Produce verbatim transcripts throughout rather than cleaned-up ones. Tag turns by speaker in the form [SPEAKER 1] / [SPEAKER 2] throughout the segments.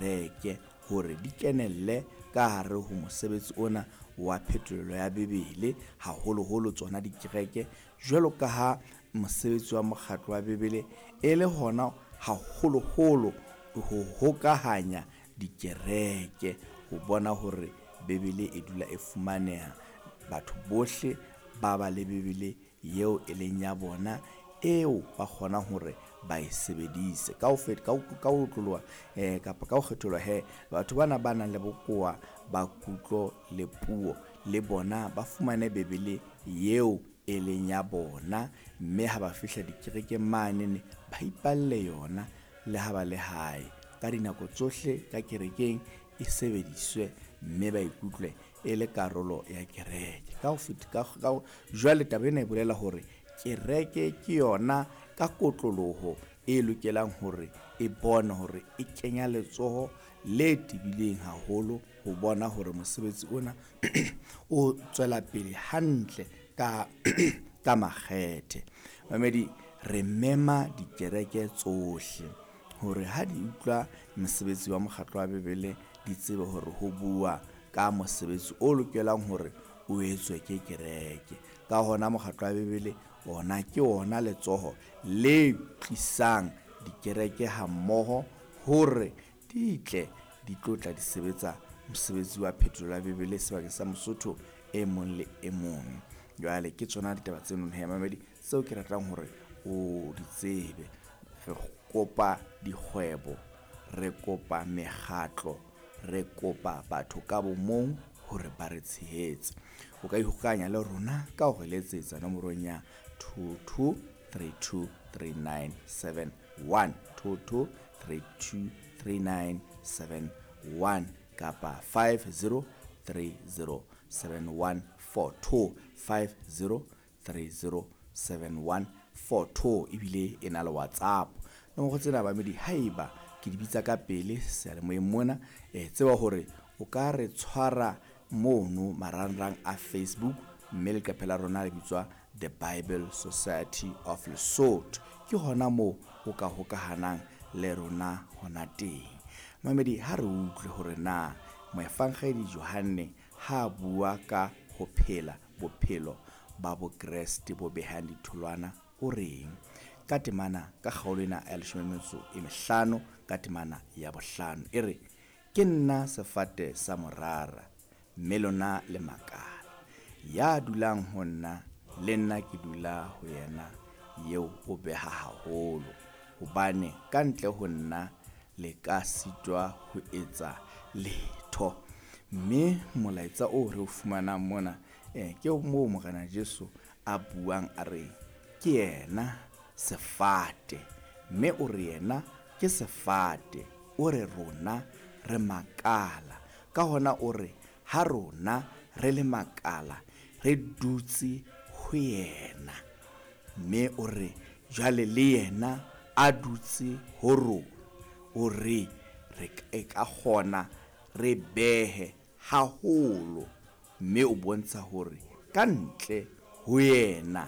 [SPEAKER 1] dikereke hore di kenelle ka hare ho mosebetsi ona wa phetolelo ya Bibele, haholoholo tsona dikereke, jwalo ka ha mosebetsi wa mokgatlo wa Bibele e le hona haholoholo ho hokahanya dikereke ho bona hore Bibele e dula e fumaneha, batho bohle ba ba le Bibele eo e leng ya bona eo ba kgonang hore ba e sebedise. Ka ho ka ho ka ho otloloha eh, kapa ka ho kgetholwa he, batho bana ba nang le bokowa ba kutlo le puo le bona ba fumane Bibele eo e leng ya bona, mme ha ba fihla dikerekeng manene ba ipalle yona le ha ba le hae. Ka dinako tsohle ka kerekeng e sebediswe, mme ba ikutlwe e le karolo ya kereke. Ka ho feta ka ka jwale taba ena e bolela hore kereke ke yona ka kotloloho e lokelang hore e bone hore e kenya letsoho le tebileng haholo ho bona hore mosebetsi ona o tswela pele hantle ka ka makgethe. Mamedi, re mema dikereke tsohle hore ha di utlwa mosebetsi wa mokgatlo wa Bibele, di tsebe hore ho bua ka mosebetsi o lokelang hore o etswe ke kereke. Ka hona mokgatlo wa Bibele ona ke ona letsoho le tlisang dikereke hammoho hore di tle di tlo tla di sebetsa mosebetsi wa phetolelo ya Bibele sebakeng sa Mosotho e mong le e mong. Jwale ke tsona ditaba tseno he mamedi tseo ke ratang hore o di tsebe. Re kopa dikgwebo, re kopa mekgatlo, re kopa batho ka bo mong hore ba re tshehetse. O ka ikgokahanya le rona ka ho re letsetsa nomorong ya two two three two three nine seven one, two two three two three nine seven one kapa five zero three zero seven one four two, five zero three zero seven one four two, ebile e na le WhatsApp. Nomoro tsena bamedi haeba ke di bitsa ka pele seyalemoyeng mona, eh, tseba hore o ka re tshwara mono marangrang a Facebook, mme leqephe la rona le bitswa The Bible Society of Lesotho. Ke hona moo o ka hokahanang le rona hona teng. Mamedi, ha re utlwe hore na moefangedi Johanne ha bua ka ho phela bophelo ba Bokreste bo behang ditholwana o reng ka temana ka kgaolo ena ya leshome le metso e mehlano ka temana ya bohlano e re, ke nna sefate sa morara, mme lona le makala. Ya dulang ho nna le nna ke dula ho yena, eo o beha haholo, hobane ka ntle ho nna le ka sitwa ho etsa letho. Mme molaetsa oo re o fumanang mona eh, ke moo Morena Jesu a buang a re ke yena sefate, mme o re yena ke sefate, o re rona re makala. Ka hona o re ha rona re le makala re dutse ho yena, mme o re jwale le yena a dutse ho rona, o re re e ka kgona re behe haholo, mme o bontsha hore ka ntle ho yena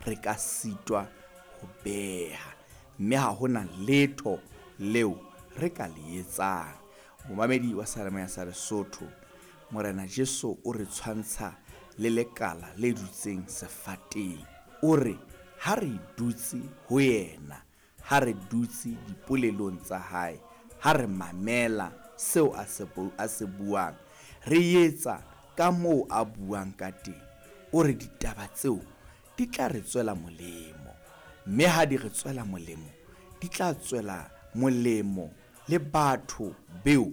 [SPEAKER 1] re ka sitwa ho beha, mme ha hona letho leo re ka le etsang. Momamedi wa Seyalemoya sa Lesotho, Morena Jesu o re tshwantsha le lekala le dutseng sefateng. O re ha re dutse ho yena, ha re dutse dipolelong tsa hae, ha re mamela seo a se bu-, a se buang, re etsa ka moo a buang ka teng, o re ditaba tseo di tla re tswela molemo, mme ha di re tswela molemo, di tla tswela molemo le batho beo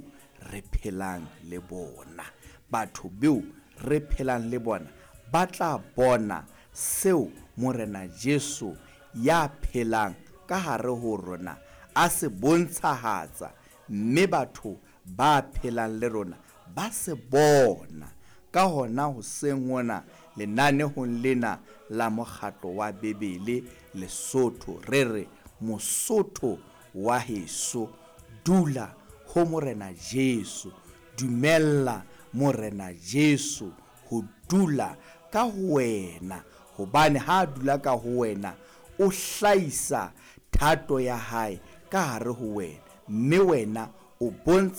[SPEAKER 1] re phelang le bona. Batho beo re phelang le bona ba tla bona seo Morena Jesu ya phelang ka hare ho rona a se bontshahatsa, mme batho ba phelang le rona ba se bona. Ka hona hoseng hona lenanehong lena la mokgatlo wa Bibele Lesotho, re re Mosotho wa heso, dula ho Morena Jesu, dumella Morena Jesu ho dula ka ho wena, hobane ha a dula ka ho wena o hlahisa thato ya hae ka hare ho wena, mme wena o bontsha